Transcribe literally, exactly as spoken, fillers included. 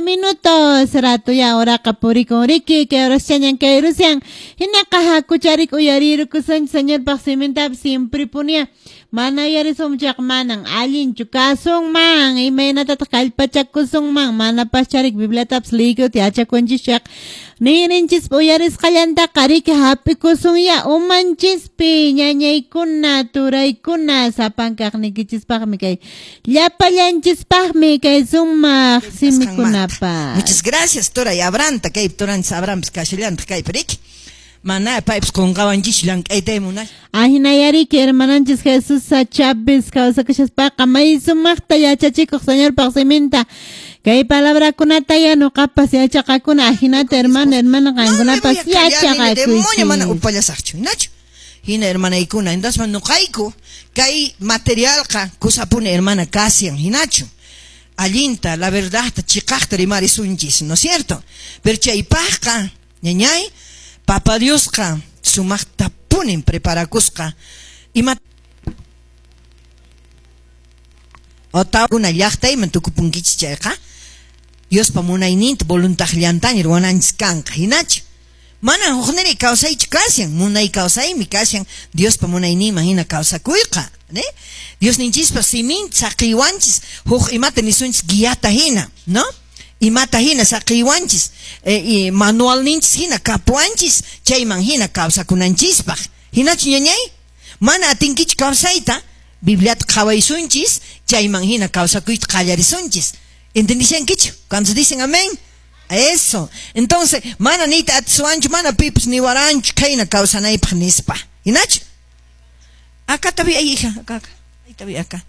Minutos rato ya oraqa purikun riki kay horaschañan kay rusian hinaqa hakucharik uyarirukusunchis Señorpaq simintapas siempre punia mana uyarisunchaq manan allinchu kasunman imaynatataq kallpachakusunman manapascharik Bibliatapas liykuta yachakunchis ninrinchispa uyarisqallantaqa riki hap'ikusunya umanchispi ñañaykuna turaykuna sapankaqniykichispaqmi kay llapallanchispaqmi kay sumaq simikunapa. Muchas gracias, turay Abranta, kay turanchis Abrampis kashallantaq kaypi riki. Mana paypis qunqawanchis llank'ayta munay. Ahinayariki hermananchis Jesús Chávez kawsakushaspaqa may sumaqta yachachikuq Señorpaq siminta kay palabrakunata ya nuqapas yachaqakuna ahinata hermano hermana qankunapas yachaqakuychis. Demonio mana upallasaqchu, hinachu? Hina hermanaykuna, entonces nuqayku kay materialqa kusapuni hermana kasian, hinachu? Allinta, la verdad, chiqaqta rimarisunchis, ¿no es cierto? Pero chaypaqqa, ñañay, Papa Diosqa sumaqta punin preparakusqa ima otawkuna llaqtayman tukupunkichis chayqa Diospa munayninta voluntaqllantaña ruwananchis kanqa hinachu mana hukniri kawsaychu kashan munay kawsaymi kashan Diospa munayninman hina kawsakuyqa ne Diosninchispa siminta saqiwanchis huk imata nisunchis guiata hina no imata hina saqiwanchis eh, manualninchis hina kapuanchis chayman hina kawsakunanchispaq hinachu ñañay mana atinkichu kawsayta Bibliata qhawaysunchis chayman hina kawsakuyta qallarisunchis ¿entendishankichu? Cuando dicen amén eso entonces mana nita atisuanchu mana pipis niwaranchu khayna kawsanaypaq nispa hinachu acá tabi ahí hija acá acá ahí tabi acá